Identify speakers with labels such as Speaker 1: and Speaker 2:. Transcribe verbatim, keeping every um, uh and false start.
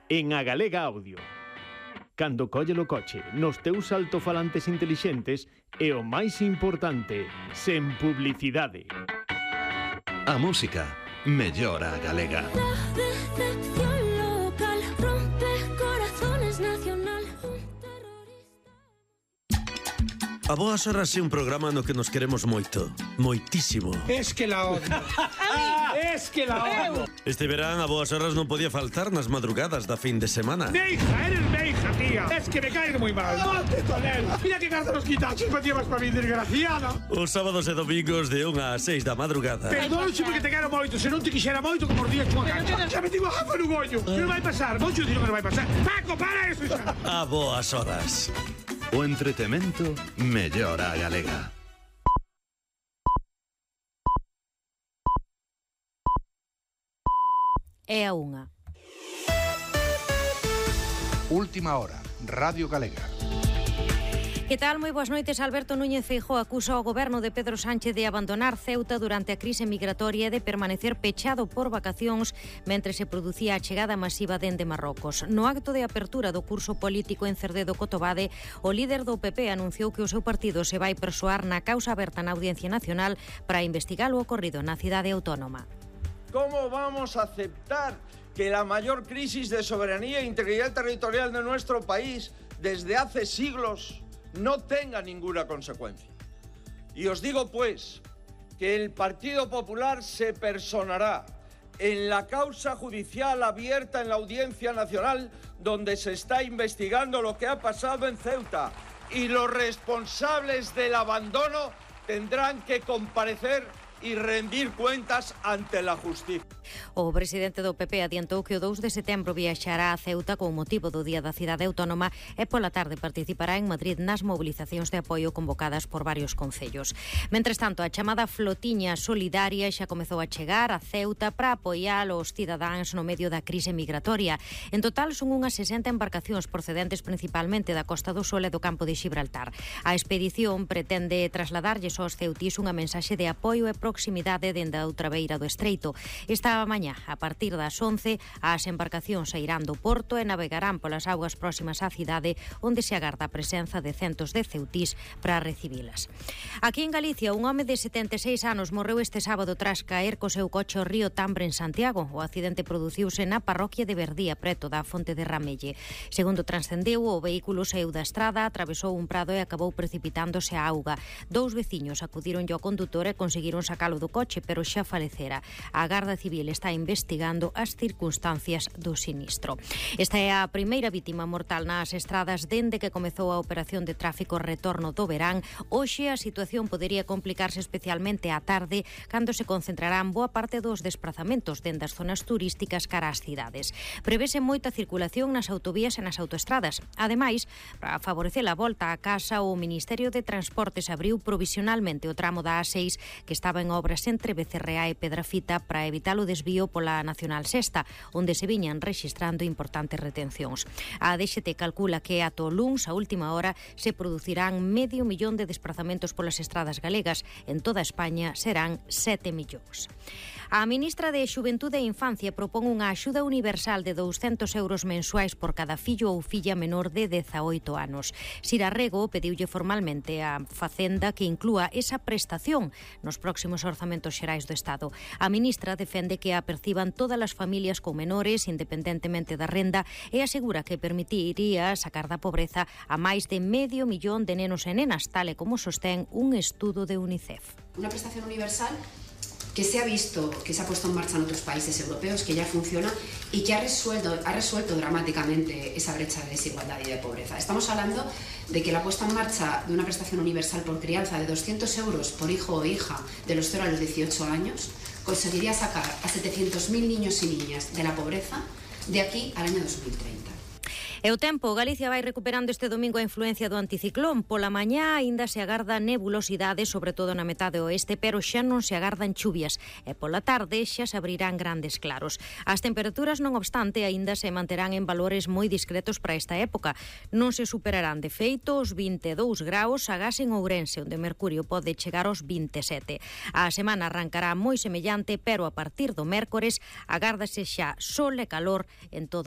Speaker 1: en A Galega Audio. Cando collelo coche nos teus altofalantes intelixentes e o máis importante, sen publicidade.
Speaker 2: A música mellora a galega.
Speaker 3: A Boas Horas é un programa no que nos queremos moito, moitísimo.
Speaker 4: Es que la odio. Es que la odio.
Speaker 3: Este verán a Boas Horas non podía faltar nas madrugadas da fin de semana.
Speaker 4: Meija, eres meija, tía. Es que me caes muy mal. ¡Mate, Tonel! Mira que carta los quitachos me llevas para mi desgraciada.
Speaker 3: Os sábados e domingos de unha a seis da madrugada.
Speaker 4: Perdón, porque te quero moito. Se non te quixera moito, como os días chua cancha. Xa me digo, ah, no gollo. Que non vai pasar. Moito dino que non vai pasar. Paco, para eso xa.
Speaker 3: A Boas Horas.
Speaker 2: O entretemento mellora a galega.
Speaker 5: É a unha.
Speaker 6: Última hora, Radio Galega.
Speaker 5: Que tal? Moi boas noites. Alberto Núñez Feijóo acusa ao goberno de Pedro Sánchez de abandonar Ceuta durante a crise migratoria e de permanecer pechado por vacacións mentre se producía a chegada masiva dende Marrocos. No acto de apertura do curso político en Cerdedo Cotobade, o líder do P P anunciou que o seu partido se vai persoar na causa aberta na Audiencia Nacional para investigar o ocorrido na cidade autónoma.
Speaker 7: ¿Cómo vamos a aceptar que la mayor crisis de soberanía e integridad territorial de nuestro país desde hace siglos no tenga ninguna consecuencia? Y os digo pues que el Partido Popular se personará en la causa judicial abierta en la Audiencia Nacional donde se está investigando lo que ha pasado en Ceuta y los responsables del abandono tendrán que comparecer y rendir cuentas ante la justicia.
Speaker 5: O presidente do P P adiantou que o dous de setembro viaxará a Ceuta con motivo do Día da Cidade Autónoma e pola tarde participará en Madrid nas mobilizacións de apoio convocadas por varios concellos. Mentres tanto, a chamada flotiña solidaria xa comezou a chegar a Ceuta para apoiar os cidadáns no medio da crise migratoria. En total son unhas sesenta embarcacións procedentes principalmente da Costa do Sol e do campo de Xibraltar. A expedición pretende trasladarlles aos ceutís unha mensaxe de apoio e proximidade dende a outra beira do estreito. Esta mañá, a partir das once, as embarcacións sairán do porto e navegarán polas augas próximas á cidade, onde se agarda a presenza de centos de ceutís para recibilas. Aquí en Galicia, un home de setenta e seis anos morreu este sábado tras caer co seu coche ao río Tambre en Santiago. O accidente produciuse na parroquia de Verdía, preto da Fonte de Ramelle. Segundo transcendeu, o vehículo saíu da estrada, atravesou un prado e acabou precipitándose á auga. Dous veciños acudironlle ao condutor e conseguiron sacalo do coche, pero xa falecera. A Garda Civil está investigando as circunstancias do sinistro. Esta é a primeira vítima mortal nas estradas dende que comezou a operación de tráfico retorno do verán. Hoxe a situación podería complicarse especialmente á tarde, cando se concentrarán boa parte dos desplazamentos dende as zonas turísticas cara ás cidades. Prevese moita circulación nas autovías e nas autoestradas. Ademais, para favorecer a volta a casa, o Ministerio de Transportes abriu provisionalmente o tramo da A seis que estaba en obras entre Becerreá e Pedrafita para evitar o desvío pola Nacional Sexta, onde se viñan rexistrando importantes retencións. A D X T calcula que ata o luns, a última hora, se producirán medio millón de desplazamentos polas estradas galegas. En toda España serán sete millóns. A ministra de Xuventude e Infancia propón unha axuda universal de douscentos euros mensuais por cada fillo ou filla menor de dezaoito anos. Sira Rego pediulle formalmente a Facenda que inclúa esa prestación nos próximos orzamentos xerais do Estado. A ministra defende que a perciban todas as familias con menores, independentemente da renda, e asegura que permitiría sacar da pobreza a máis de medio millón de nenos e nenas, tal e como sostén un estudo de UNICEF.
Speaker 8: Una prestación universal que se ha visto, que se ha puesto en marcha en otros países europeos, que ya funciona y que ha resuelto, ha resuelto dramáticamente esa brecha de desigualdad y de pobreza. Estamos hablando de que la puesta en marcha de una prestación universal por crianza de doscientos euros por hijo o hija de los cero a los dieciocho años conseguiría sacar a setecientos mil niños y niñas de la pobreza de aquí al año dos mil treinta.
Speaker 5: E o tempo, Galicia vai recuperando este domingo a influencia do anticiclón. Pola mañá aínda se agarda nebulosidade, sobre todo na metade oeste, pero xa non se agardan chuvias. E pola tarde xa se abrirán grandes claros. As temperaturas, non obstante, aínda se manterán en valores moi discretos para esta época. Non se superarán de feito os vinte e dous graus agás en Ourense, onde o mercurio pode chegar aos vinte e sete. A semana arrancará moi semellante, pero a partir do mércores agárdase xa sol e calor en todo